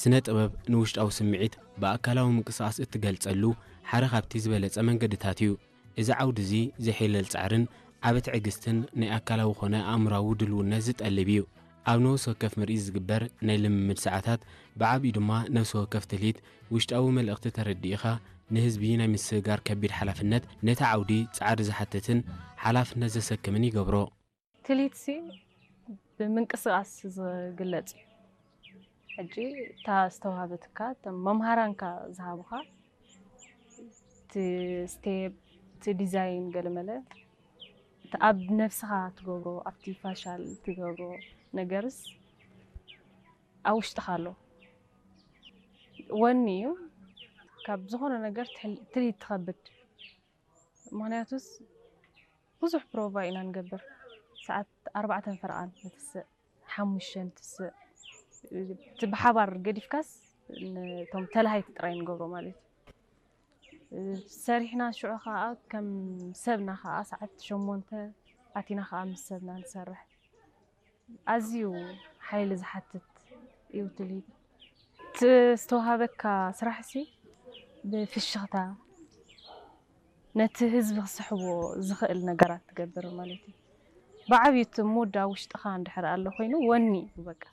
ስነ ጥበብ ንውሽጣዊ ስምዒት ብኣካላዊ ምንቅስቓስ እትገልጸሉ ሓደ ካብቲ ዝበለጸ መንገድታት እዩ። እዚ ዓውዲ እዚ ዘሕይለል ጻዕርን ዓቢ ትዕግስትን ናይ ኣካላዊ ኾነ ኣእምራዊ ድልውነት ዝጠልብ እዩ። ኣብ ነፍሲ ወከፍ ምርኢት ዝግበር ናይ ልምምድ ሰዓታት ብዓቢኡ ድማ ነፍሲ ወከፍ ትልሂት ውሽጣዊ መልእኽቲ ተረዲእኻ ንህዝቢ ናይ ምስግጋር ከቢድ ሓላፍነት ነቲ ዓውዲ ጻዕሪ ዝሓትትን ሓላፍነት ዘሰክምን ይገብሮ። ትልሂትሲ ብምንቅስቓስ ዝግለጽ እዩ። ሕጂ እታ ዝተዋህበትካ እቶም መምሃራንካ ዝሃቡኻ እቲ ስቴፕ እቲ ዲዛይን ገለመለ እቲ ኣብ ነብስኻ ትገብሮ ኣብቲ ፋሻል ትገብሮ ነገርስ ኣብ ውሽጥኻ ኣሎ። ወኒ እዩ ካብ ዝኾነ ነገር ትልሂት ትኸብድ። ምኽንያቱስ ብዙሕ ፕሮቫ ኢና ንገብር። ሰዓት ኣርባዕተን ፈረቓን ንትስእ፣ ሓሙሽተ ንትስእ። እቲ ብሓባር ገዲፍካስ ነቶም ተላሃይቲ ጥራይ ንገብሮ ማለት እዩ። ሰሪሕና ሽዑ ከዓ ከም ሰብና ከዓ ሰዓት ሸሞንተ ኣቲና ከዓ ምስ ሰብና ንሰርሕ። ኣዝዩ ሓይሊ ዝሓትት እዩ ትልሂት። እቲ ዝተዋሃበካ ስራሕሲ ብፍሽኽታ ነቲ ህዝቢ ክስሕቦ ዝኽእል ነገራት ትገብር ማለት እዩ። ብዓብዩ እቲ ሙድ ኣብ ውሽጥኻ እንድሕር ኣሎ ኮይኑ ወኒ እዩ በቃ።